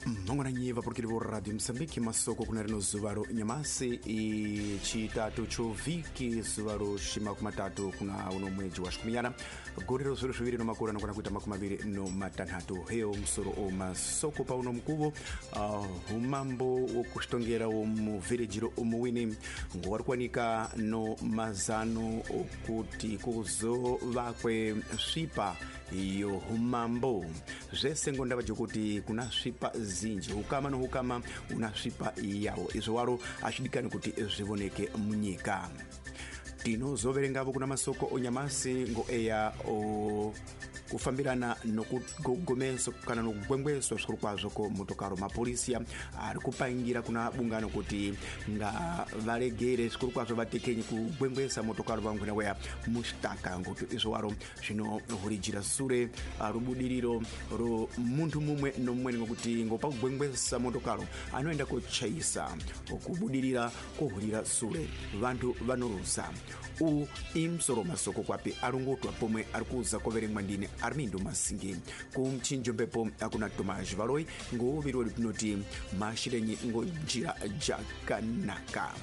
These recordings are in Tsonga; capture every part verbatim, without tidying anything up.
Mangwananyi vapurukiri vo Radio Mozambique, masoko kuna rino zuva ro nyamasi ichitatu cho vhiki, zuva ro shimakumatatu kuna uno mwedzi wa shikuminyana gore ro zviro zviviri no makore anokwana kuita makumi maviri no matanhatu. Heyo musoro o masoko pauno mukuvo uh, umambo wokushitongera womuvhireji ro omuwini ngowari kuwanika no mazano okuti kuzovakwe svipa iyo umambo zvese ngo ndava jokuti kuna svipa zinji, hukama no hukama una svipa yawo. Izvo waro azvidikani kuti zvivoneke munyika. Tinozoverengavo kuna masoko onyamasi ngo eya o kufambirana nokugomeso kana nokugwengweswa zvikuru kwazvo ko motokaro. Mapolisiya ari kupangira kuna bungano kuti ngavaregere zvikuru kwazvo vatekenyi kugwengwesa motokaro vangwena weya mushitaka, ngokuti izvo waro zvinohurijira sure rubudiriro ro muntu mumwe nomumweni, ngokuti ngopakugwengwesa motokaro anoenda kochaisa okubudirira kohurira sure vantu vanoruza. U imusoro masoko kwapi arongotwa pomwe ari kuza koverengwa ndine Armindo Masingi. Kumchinjo mbepo akuna Tomás Valoi ngouviri wedu tinoti mashirenyi ngo njira jakanaka.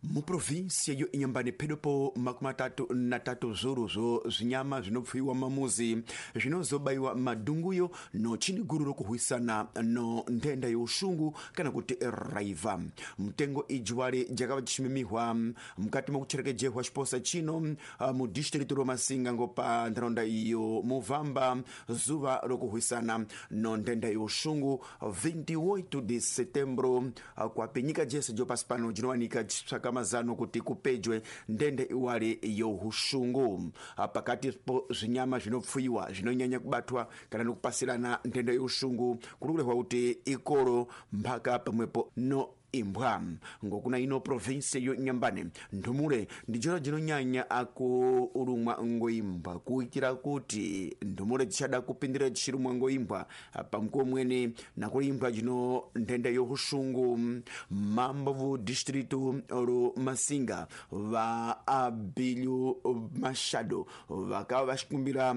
Muprovinsia yo Inhambane pedopo makumi matatu na tatu zvuru zvo zvinyama zvinopfuiwa mamuzi zvinozobaiwa madunguyo no chini guru rokuhwisana no nthenda youshungu kana kuti raiva. Mtengo ijiwale jakava jishimimihwa mukati mokucherekejehwa xiposa chino mu distritu ro Masinga ngo pa ntharaunda iyo Muvamba zuva rokuhwisana no nthenda youshungu vinte e oito de setembro kwapi nyika jese jo pasi pano jinowanika jitsvaka mazano kuti kupejwe ndende iwale youshungu. Pakati po zvinyama zvinopfuiwa zvinonyanya kubatwa kana nokupasirana ndende youshungu kuri kurehwa kuti ikoro mphaka pamwepo no imbwa. Ngokuna ino provinsi yo Inhambane nthumule ndijona jinonyanya akurumwa ngoimbwa, kuitira kuti nthumule dzichada kupindira dzichirumwa ngoimbwa pamukuwo mwene nakuri imbwa jino nthenda youshungu. Mambo vu distritu ro Masinga va Abilio Machado vakava vachikumbira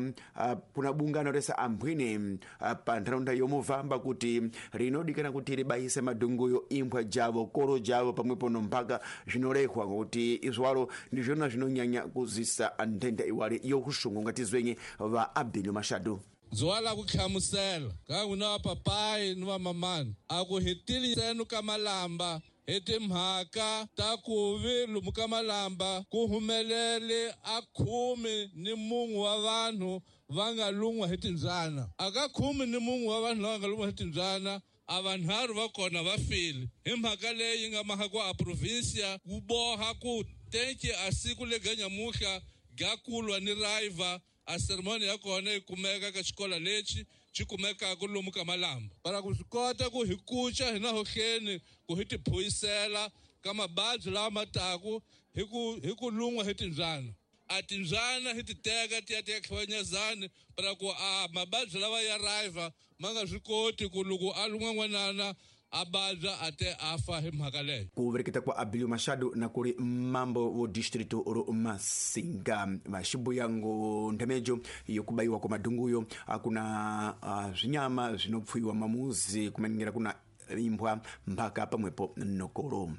kuna bungano rese ambwine pa ntharaunda yomuvamba kuti rinodikana kuti ribayise madunguyo imbwa ja koro javo pamwepo no mphaka zvinorehwa, ngokuti izwaro ndizvona zvinonyanya kuzisa nthenda iwale youshungu. Ngatizwenye va Abilio Machado. Zuva la ku hlamusela ka n'wina va papayi ni va mamani a ku hetilisenu ka malamba hi timhaka ta ku vi lomu ka malamba ku humelele a khume ni mun'we wa vanhu va nga lun'wa hi timbyana. A ka khume ni mun'we wa vanhu lava nga lun'wa hi timbyana a vanharhu va kona va file. Hi mhaka leyi nga mhaka ku a provinsia ku boha ku tenki a siku lega nyamuhla ga kulwa ni raiva a seremoni ya kona yi kumeka ka xikolo lexi xi kumekaka lomu ka malamba para ku swi kota ku hi kuca hina hohleni ku hi tiphuyisela ka mababyi lawa ma taku hi ku hi ku lun'wa hi timbyana. A timbyana hi ti teka ti ya ti ya tlhonyezani para ku a mababyi lawa ya raiva ma nga swi koti ku loko a lun'wa n'wanana a babya a te a fa hi mhaka leyo. Ku vereketa kwa Abilio Machado na kuri mambo wo distritu ro Masinga vaxibuya ngo nthemejo yokubayiwa kwa madunguyo akuna uh, zvinyama zvinopfuiwa mamuzi kumaningira kuna imbwa mphaka pamwepo nokoro.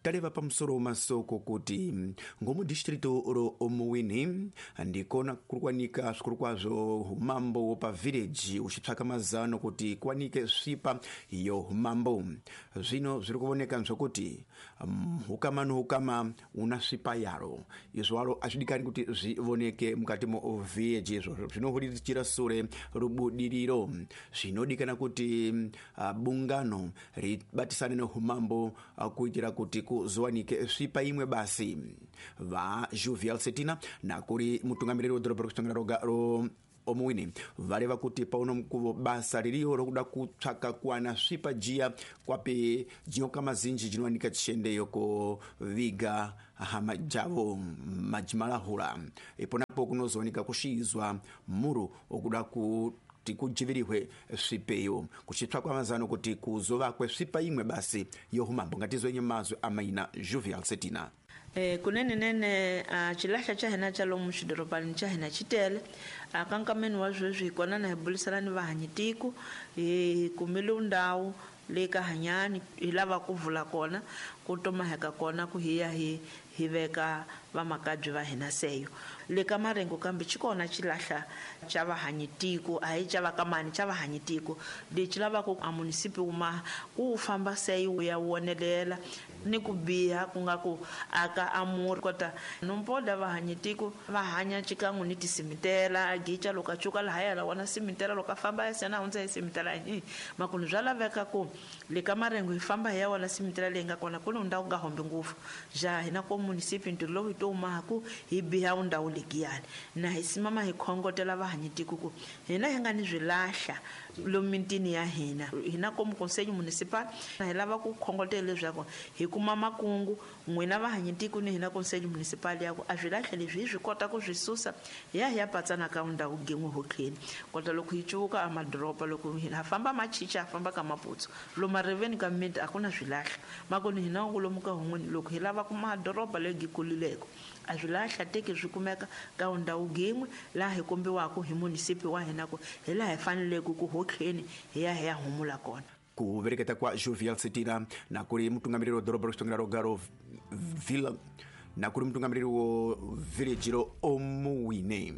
Taleva pamusoro masoko kuti ngomu distritu ro Omuwini ndikona kuri kuwanika zvikuru kwazvo umambo wopa village uchitsvaka mazano kuti kuwanike svipa yo umambo. Zvino zviri kuvoneka zvokuti hukama nohukama una svipa yaro. Izvo waro azvidikani kuti zvivoneke mukati mo village, izvo zvinohuridzira sure rubudiriro. Zvinodikana kuti uh, bungano ribatisane noumambo uh, kuitira kuti kuzowanike svipa imwe basi. Va Jovial Setina nakuri mutungamiriri wedhorobha rokuchitongera roga ro Omuwini vareva kuti pauno mukuvo basa ririyo rokuda kutsvaka kuwana svipa jiya kwapi jinyoka mazinji jinowanika chishendeyo koviga hama javo majimalahula. Iponapo kunozowanika kushiizwa muru okuda ku kuti kujivirihwe svipeyo, kuchitsvakwa mazano kuti kuzovakwe svipa imwe basi youmambo. Ngatizwenye mazwi amaina Jovial Setina. Eh, kunene nene a xilahla xa hina xa lomu xidorobani xa hina xi tele a ka nkameni wa sweswi hi kona na hi burisana ni vahanyitiko hi kumile ndhawu leyi ka hanyani hi lava ku vula kona ku tomaheka kona ku hi ya hi hi veka vamakabye va hina seyo le ka Marengo kambe xi kona xilahla xa vahanyitiko a hi xa vakamani xa vahanyitiko lexi lavaka a munisipi wuma ku wu famba seyo wu ya wonelela ni ku biha ku nga ku aka amuri kota nompoda vahanyitiko va hanya xikan'we ni tisimitela gica loko a cuka lahaya la wona simitela loko a famba ya sena hundza hi simitela hi makunu bya laveka ku le ka Marengo hi famba hi ya wona simitela leyi nga kona ku ni ndhawu nga hombi ngopfu ja hina ko munisipi ntirho lowu hi to humaku hi biha ndhawu legiyani na hi simama hi khongotela vahanyitiko ku hina hi nga ni swilahla lomu mitini ya hina hina komu conseil municipal hi lava ku khongotela leswaku hi kuma makungu n'wina vahanyitiko ni hina conseil municipal ya ku a swilahla leswi hi swi kota ku swi susa hi ya hi ya patsana ka ndhawu gin'we hotlheni kota loko hi cuvuka a madoroba loko hina famba machicha ha famba ka Maputsu lomu mariveni ka miti a ku na swilahla makoni hina lomu ka hun'wini loko hi lava ku madoroba leyi kulileko a swilahla teki swi kumeka ka ndhawu gin'we laha hi kombiwaka hi munisipi wa hina ku hi laha hi faneleke ku hotlheni hi ya hi ya humula kona. Ku vereketa kwa Jovial Setira na kuri mutungamiriri wa doroba ro Rogaro Villa na kuri mutungamiriri wo village ro Omuwine.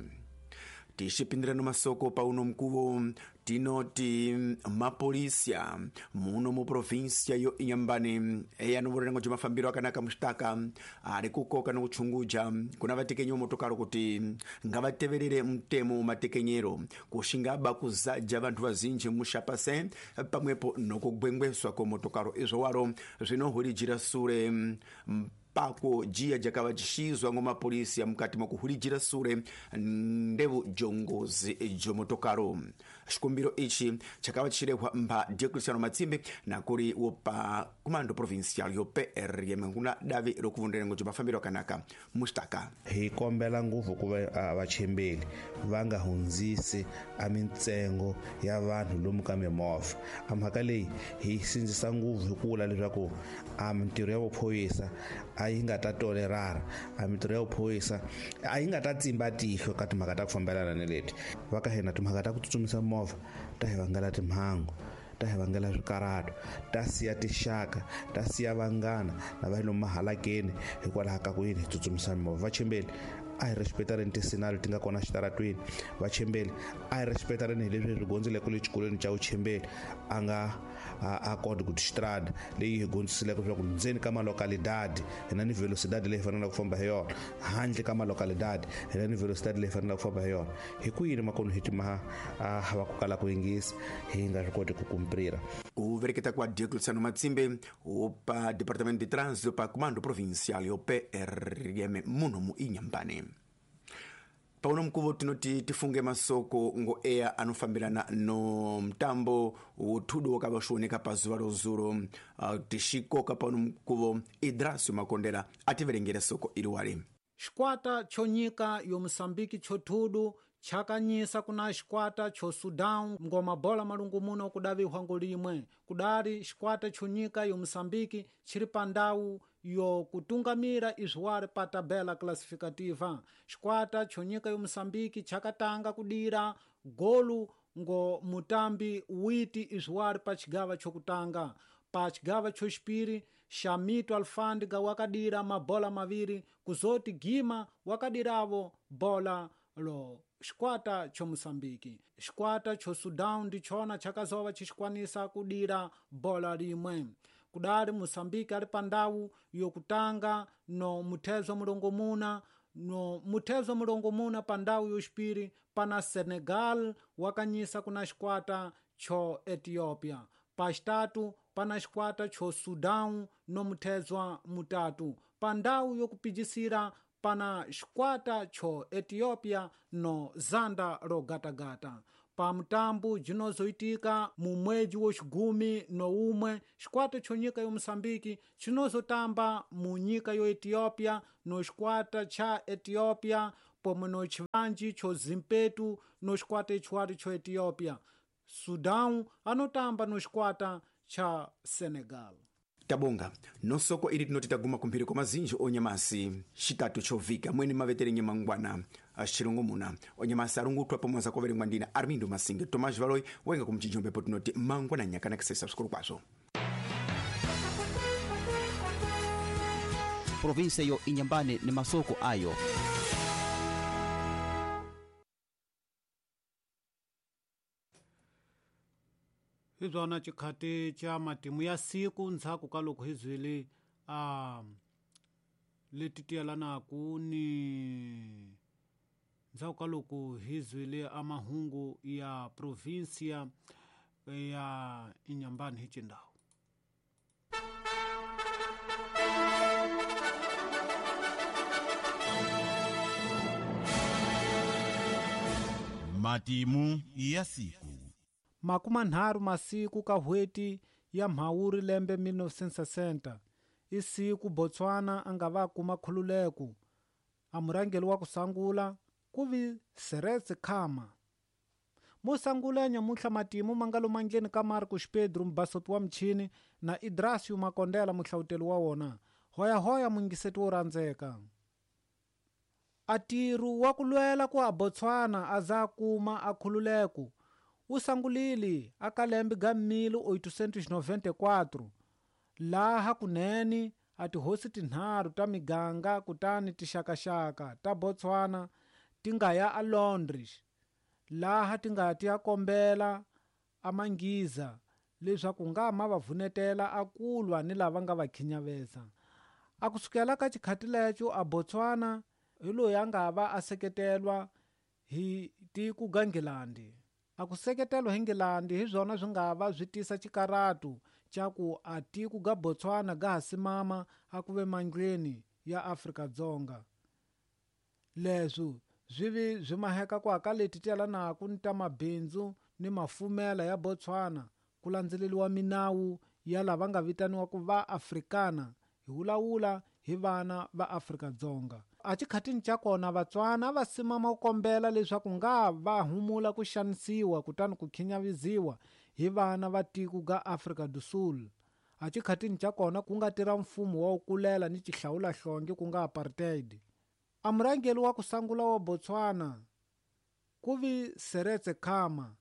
Tixipindirano masoko pauno mkuvo tinoti mapolisia muno mu província yo Inhambane eyanovorerengo bya mafambiro akanaka muxitaka ari kukoka no kuchunguja kuna vatekenyi motokaro kuti ngavateverere mutemo matekenyero kuxingaba kuzaja vantu vazinji muxapase pamwepo nokugwengweswa ko motokaro izvo waro zvinohurijira sure pako jia jakava jishizwa ngo mapolisi mukati mwakuhulijira sure ndevu jongozi jomotokaro. Xikumbiro ichi chakava chirehwa mba Diocleciano Matsimbi na kuri wopa comando provincial yo P R M kuna davi rokuvunderengo jomafambiro akanaka mustaka. Hi kombela nguvu ku va vachembeli va nga hundzisi a mintsengo ya vanhu lomu ka mimovha. A mhaka leyi hi sindzisa nguvu hi ku vula leswaku a mintirho ya vuphorisa a yi nga ta tolerara, a mintirho ya vuphorisa a yi nga ta tsimba tihlo ka timhaka ta ku fambelana ni leti. Va ka hina timhaka ta ku tsutsumisa movha ta hi vangela timhangu, ta hi vangela swikarhato, ta siya tixaka, ta siya vanghana lava hi lomu mahalakeni hikwalaho ka ku yini hi tsutsumisa mimovha. Vachembeli a hi respectareni tisinalo ti nga kona xitaratweni. Vachembeli a hi respectareni hi leswi hi swi gondzeleke le xikolweni xa vuchembeli a nga a code ku xitrada leyi hi gondzisileke leswaku ndzeni ka malocalidade hi na ni velocidade leyi faneleke ku famba hi yona, handle ka malocalidade hi na ni velocidade leyi faneleke ku famba hi yona. Hi ku yini makonu hi timaha a va ku kala ku yingisa hi nga swi koti ku kumprira. Ku vereketa kwa Diocleciano Matsimbe opa Departamento de Trânsito pa Comando Provincial yo P R M muno mu Inhambane. Pauno mkuvo tinoti tifunge masoko ngo eya anofambirana no mtambo wothudu wakava shuoneka pazuva rozuro. uh, tixikoka pauno mkuvo Idrasio Makondela ativerengere soko iliwali. Xikwata cho nyika yo Mosambiki chothudu chakanyisa kuna xikwata cho Sudan ngoma bola malungu muno kudaviwa ngolimwe. Kudali xikwata cho nyika yo Mosambiki chiri pandau yo kutungamira izwari pa tabela classificativa. Xikwata cho nyika yo Mosambiki chakatanga kudira golu ngo mutambi witi izwari pa chigava chokutanga. Pa chigava choxipiri Shamito Alfândiga wakadira mabola maviri kuzoti Gima wakadiravo bola lo xikwata cho Mosambiki. Xikwata cho Sudan ndichona chakazova chixikwanisa kudira bola limwe. Kudali Mosambiki ali pandawu yokutanga no muthezo mulongomuna no muthezo mulongomuna pandawu yoxipiri pana Senegal wakanyisa kuna xikwata cho Ethiopia. Paxitatu pana xikwata cho Sudan no muthezwa mutatu. Pandawu yokupijisira pana xikwata cho Ethiopia no zanda rogatagata. Pa mutambu jinozoitika mu mwedzi wo xigumi no umwe xikwata cho nyika yo Mosambiki chinozotamba mu nyika yo Ethiopia no xikwata cha Ethiopia pomwe no chivanji cho Zimpetu no xikwata ichiwari cho Ethiopia. Sudan anotamba no xikwata cha Senegal. Tabonga nosoko ili tinoti taguma kumphiri kwa mazinji onyamasi xitatu chovika mwene maveterenye mangwana axilongo muna onyamasi alungutwa pomwe zakoverengwa ndina Armindo Masinge Tomás Valoi wenga kumchijombepo tinoti mangwana nyakana kisesa sukulu kwazo. Provinsia yo Inyambane ni masoko ayo. Hi byona xikhati xa matimu ya siku ndzhaku ka loko hi byile a leti tiyelanaku ni ndzhaku ka loko hi zwile a mahungu ya provinsia ya Inyambane hi Chindau. Matimu ya siku. Makuma nharhu masiku ka hweti ya Mhawuri lembe mil novecentos e sessenta i siku Botswana a nga va kuma khululeko. A murhangeri wa ku sungula ku vi Seretse Khama. Mo sungula nyamuntlha matimu ma nga lomandleni ka Marcos Pedro mubasoti wa michini na Idrasio Makondela muhlawuteli wa wona. Hoyahoya mungiseti wo rhandzeka. A ntirho wa ku lwela ku a Botswana a za kuma a khululeko wu sungulile aka lembe ga mil oitocentos e noventa e quatro laha kunene a tihosi tinharhu ta miganga kutani tixakaxaka ta Botswana ti nga ya a Londres laha ti nga ti ya kombela a Manghiza leswaku nga ma va vunetela a kulwa ni lava nga va khinyaveza. A kusukela ka xikhati lexo a Botswana hi loyi a nga va a seketelwa hi tiko ga Nghilandi. A ku seketelwa hi Nghilandi hi swona swi nga va swi tisa xikaratu xa ku a tiko ga Botswana ga ha simama a ku ve mandleni ya Afrika-Dzonga. Leswi swi vi swi maheka ku aka leti tiyelanaku ni ta mabindzu ni mafumela ya Botswana ku landzeleriwa minawu ya lava nga vitaniwaku va Afrikana hi vulavula hi vana va Afrika-Dzonga. A xikhatini xa kona Vatswana va simama ku kombela leswaku nga va humula ku xanisiwa kutani ku khinyaviziwa hi vana va tiko ga Afrika do Sul. A xikhatini xa kona ku nga tirha mfumo wa ku kulela ni xihlawulahlonge ku nga apartheid. A murhangeri wa ku sungula wa Botswana ku vi Seretse Khama.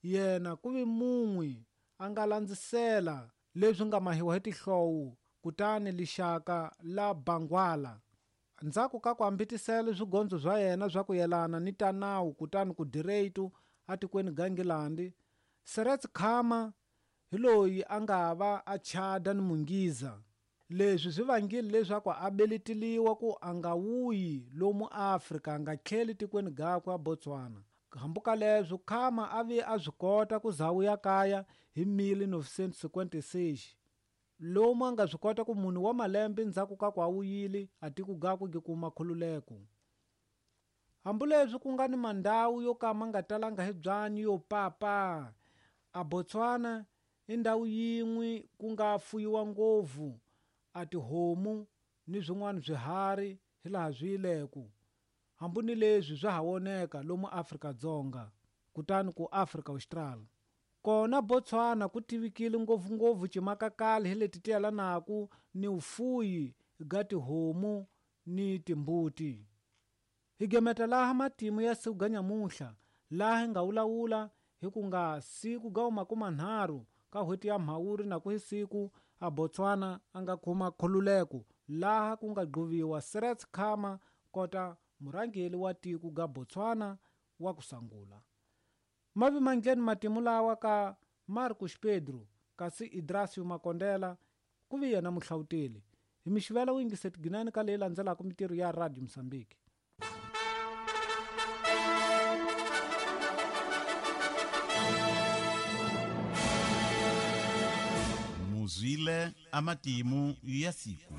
Yena ku vi mun'we a nga landzisela leswi nga mahiwa hi tihlowu kutani lixaka la Bangwala. Ndzhaku ka ku hambitisela swigondzo swa yena swa ku yelana ni ta nawu kutani ku direito atikweni ga Nghilandi, Seretse Khama hi loyi a nga va a chada ni Munghiza. Leswi swi vangile leswaku a beleteliwa ku a nga wuyi lomu Afrika a nga tlheli tikweni gakwe a Botswana. Hambuka leswo Khama a vi a swi kota ku za wuya kaya hi mil novecentos e cinquenta e seis. Lomu a nga swi kota ku munhu wa malembe ndzhaku ka ku a wuyile a tiko gakwe gi kuma khululeko. Hambileswi ku nga ni mandhawu yo ka ma nga talanga hi byanyi yo papa, a Botswana i ndhawu yin'we ku nga fuyiwa ngopfu a tihomu ni swin'wana swiharhi hilaha swi yileku. Hambi ni leswi swa ha voneka lomu Afrika-Dzonga kutani ku Afrika Austral. Kona Botswana ku tivikile ngopfungopfu ximakakali hi leti tiyelanaku ni vufuyi ga tihomu ni timbuti. Hi gemeta laha matimu ya siku ga nyamuntlha laha hi nga vulavula hi ku nga siku ga makumanharhu ka n'hweti ya Mhawuri na ku hi siku a Botswana a nga kuma khululeko laha ku nga gquviwa Seretse Khama kota murhangeri wa tiko ga Botswana wa ku sungula. Mavi mandleni matimu lawa ka Marcos Pedro kasi Idrasio Makondela ku vi yena muhlawuteli. Hi mixivela wu yingiseti ginani ka leyi landzelaka mitirho ya Radio Mozambique. Muzwile amatimu ya siku.